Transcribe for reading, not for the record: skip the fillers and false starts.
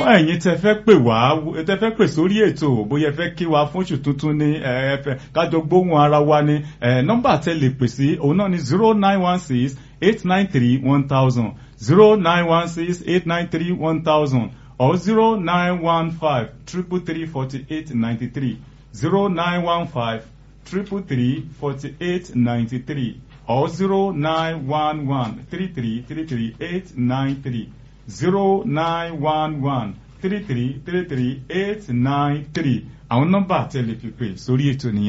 Fún ẹ̀yin tẹ́ fẹ́ pè wá, tẹ́ fẹ́ pè sórí ètò, bóyá ẹ fẹ́ kí wa fún oṣù tuntun ni, ẹ fẹ́ kájọ gbóhùn ara wa ni, nọ́mbà tẹ́ lè pè sí òun náà ni 09168931000, 09168931000 or 09153334893, 09153334893 or 09113333893, 09113333893. Àwọn nọ́mbà tẹ́ lè fi pè sórí ètò nìyẹn.